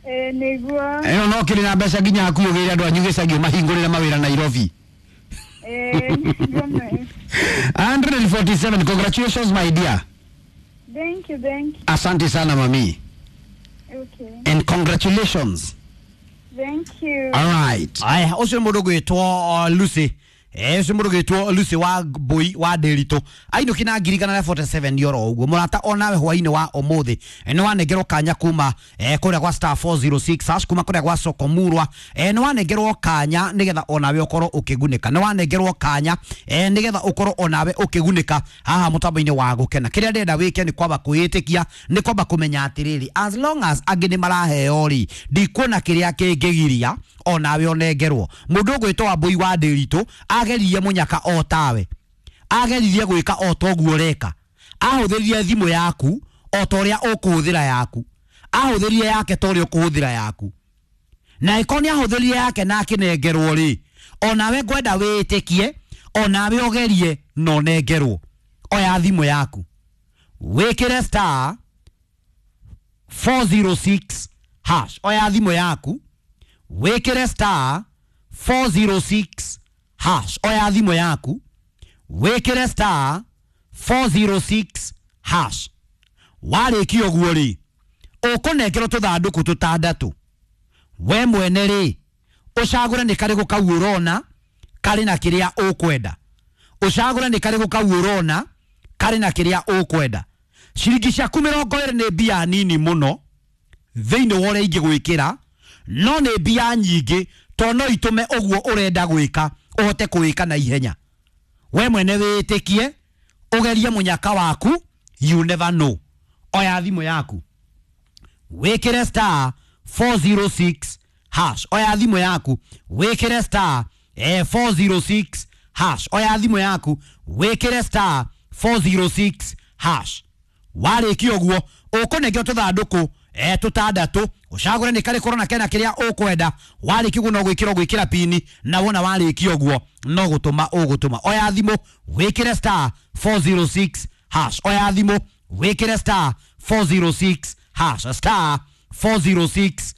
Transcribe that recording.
Nĩguo. Ĩno no kĩrĩ na mbeca nginya hakuhĩ ũgĩre andũ anyu gĩcagi ũmahingũrĩre mawĩra Nairobi. Nĩguo me. 147, congratulations, my dear. Thank you, thank you. Asante sana, mami. Okay. And congratulations. Thank you. All right. Aya, ũcio nĩ mũndũ ũgwĩtwo Lucy. Ũcio mũndũ ũgwĩtwo Lucy wa Mbũi wa Ndĩritũ ainũki na 147 oro ũguo. Mũrata, onawe hwainĩ wa ũmũthĩ nĩ wanengerwo kanya kuma kũrĩa gwa *406# kuma kũrĩa gwa Sokomurwa. Nĩ wanengerwo kanya nĩgetha onawe ũkorwo ũkĩgunĩka. Nĩ wanengerwo kanya nĩgetha ũkorwo onawe ũkĩgunĩka haha mũtambo-inĩ wa gũkena. Kĩrĩa ndĩrenda wĩke nĩ kwamba kwĩĩtĩkia, nĩ kwamba kũmenya atĩrĩrĩ, as long as angĩ nĩ maraheo rĩ, ndikuona kĩrĩa kĩngĩgiria onawe ũnengerwo. Mũndũ ũgwĩtwo Wambũi wa Ndĩritũ ageririe mũnyaka o tawe, ageririe gwĩka o toguo ũreka, ahũthĩrire thimũ yaku o ta ũrĩa ũkũhũthĩra yaku, ahũthĩrire yake ta ũrĩa ũkũhũthĩra yaku, na ĩkorwo nĩ ahũthĩrire yake na akĩnengerwo rĩ, onawe ngwenda wĩĩtĩkie, onawe ũgerie na ũnengerwo. Oya thimũ yaku, wĩkĩre *406#. Oya thimũ yaku, wĩkĩre *406#. Oya thimũ yaku, wĩkĩre *406#. Warĩkia ũguo rĩ, ũkũnengerwo tũthandũkũ tũtandatũ. We mwene rĩ, ũcagũre nĩ karĩkũ kau ũrona karĩ na kĩrĩa ũkwenda. Ũcagũre nĩ karĩkũ kau ũrona karĩ na kĩrĩa ũkwenda. Ciringi ciaku 20 nĩ mbia nini mũno thĩinĩ wa ũrĩa ingĩgwĩkĩra, no nĩ mbia nyingĩ tondũ no itũme ũguo ũrenda gwĩka ũhote kũwĩka na ihenya. We mwene wĩĩtĩkie, ũgerie mũnyaka waku, you never know. Oya thimũ yaku, wĩkĩre *406#. Oya thimũ yaku, wĩkĩre *406#. Oya thimũ yaku, wĩkĩre *406#. Warĩkia ũguo, ũkũnengerwo tũthandũkũ tũtandatũ, ũcagũre nĩ karĩkũ ũrona kena kĩrĩa ũkwenda. Warĩkia ũguo no gwĩkĩra ũgwĩkĩra pini, na wona warĩkia ũguo no gũtũma ũgũtũma. Oya thimũ, wĩkĩre *406#. Oya thimũ, wĩkĩre *406#, *406#.